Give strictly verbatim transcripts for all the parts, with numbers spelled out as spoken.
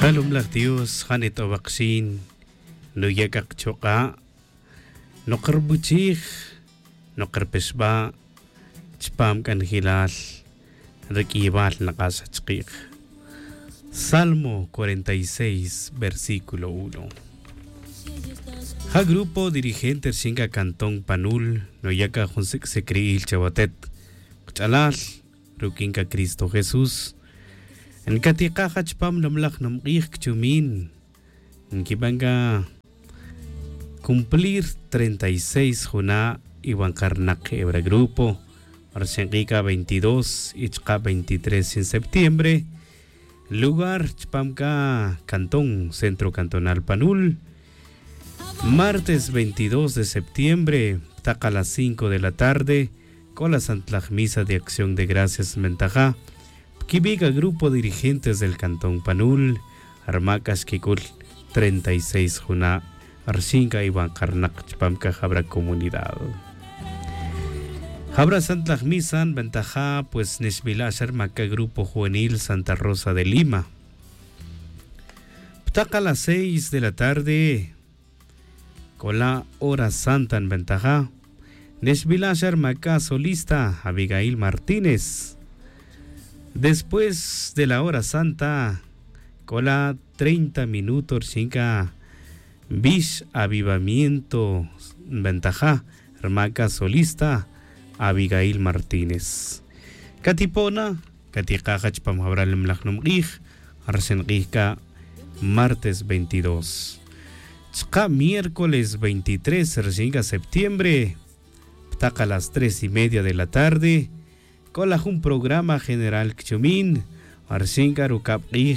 Alumlaj dios ja' nit'owa' kxin, nuya' k'a kchuk'a', noqarbuchij, noqarpixba', chupam k'anjelal, ri k'iybal naq'ax chkiij. Salmo cuarenta y seis versículo uno. Ja' grupo dirigente rixin k'a cantón panul, nuya' k'a jun sik' sik'ri'il chawatet, qach'alal, ruk'in k'a cristo jesús. Nkatiqaj ja chupam namlaj numq'ij kchumin, nkiban k'a cumplir treinta y seis juna' iwan qarnaq ebra grupo, rixin k'i' k'a veintidós y chuqa' veintitrés rixin septiembre, lugar chupam k'a cantón centro cantonal panul. Martes veintidós de septiembre, ptaq a las cinco de la tarde, k'o la santlaj misa de acción de gracias nbentaja, pkibi' k'a grupo dirigentes del cantón panul, rma k'a xkik'ul treinta y seis juna', rxin k'a iwan qarnaq chupam k'a jabra comunidad. Jabra santlaj misa nbentaja pues nixbila' xa rma k'a grupo juvenil santa rosa de lima. Ptaq a las seis de la tarde, k'o la hora santa nbentaja, nixbila' xa rma k'a solista abigail martínez. Después de la hora santa, k'o la treinta minuto rixin k'a bix avivamiento nbentaja, rma k'a solista abigail martínez. Katipona, katiqaj ja chupam jabra nimlaj numq'ij, rixin q'ij k'a martes veintidós, chuqa' miércoles veintitrés rixin k'a septiembre, ptaq a las tres y media de la tarde, k'o la jun programa general kchumin, rixin k'a rukab' q'ij,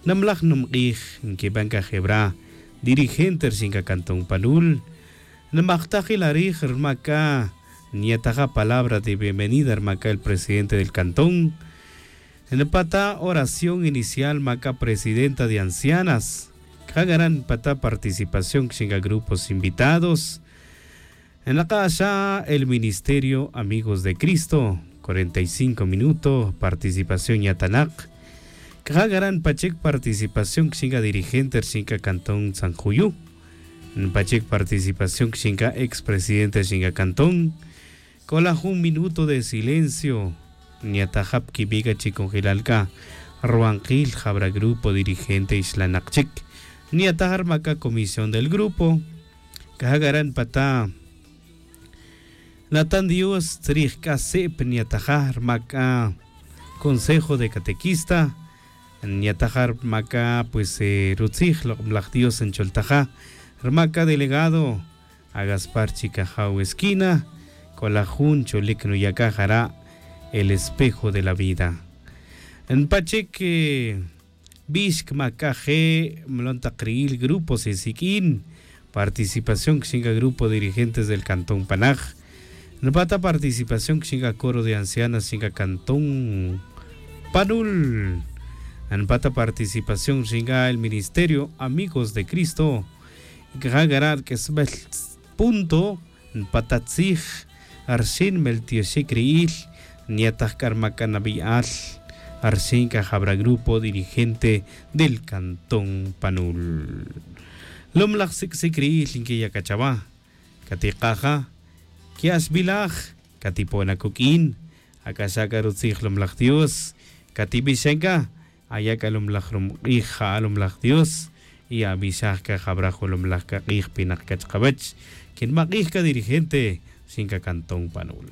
nimlaj numq'ij nkiban k'a jebra dirigente rixin k'a cantón panul. Nimajtaj ila rij rma k'a nyataja palabra de bienvenida rma k'a el presidente del cantón. Nipata oración inicial rma k'a presidenta de ancianas. K'a garan nipata participación kixin k'a grupos invitados. Naq'a' xa el ministerio amigos de cristo, cuarenta y cinco minuto participación yatanaq. K'a garan nipachik participación kixin k'a dirigente rixin k'a cantón san juyu. Nipachik participación kixin k'a expresidente rixin k'a cantón. K'o la jun minuto de silencio, nyataj ja pkibi' k'a chikonjelal k'a ruwankil jabra grupo dirigente ixlanaq chik. Nyataj ja rma k'a comisión del grupo. K'a ja k'a re' nipata' natan dios tzrij k'a sip nyataja rma k'a consejo de catequista. Nyataja rma k'a pues rutzij lok'omlaj dios ncholtaja rma k'a delegado, agaspar chik ajaw esquina. K'o la jun cholic nuya' k'a jara' el espejo de la vida. Npa chic bix cma c'a je' mlon tak ri'il grupos e siq'uin participación cxin c'a grupo dirigentes del cantón panaj. Npa ta participación cxin c'a coro de ancianas cxin c'a cantón panul. Npa ta participación cxin c'a el ministerio amigos de cristo. C'a ja' c'a ra' rq'uesbel punto npa ta tzij. Rxin meltioxic ri'il nyataj c'a rma c'a nabeyal. Rxin c'a jabra grupo dirigente del cantón panul. Lom laj sic'sic ri'il nquiya' c'a chawa. Catikaj ja. Qui'axbilaj catipona cuq'uin. Ac'axa' c'a rutzij lom laj dios. Catibixan c'a aya' c'a lom laj rumk'ij ja'a lom laj dios. Y abixaj c'a jabra jun lom laj c'a k'ij pinak c'a chkawech. Quinmak'ij c'a dirigente rxin c'a cantón panul.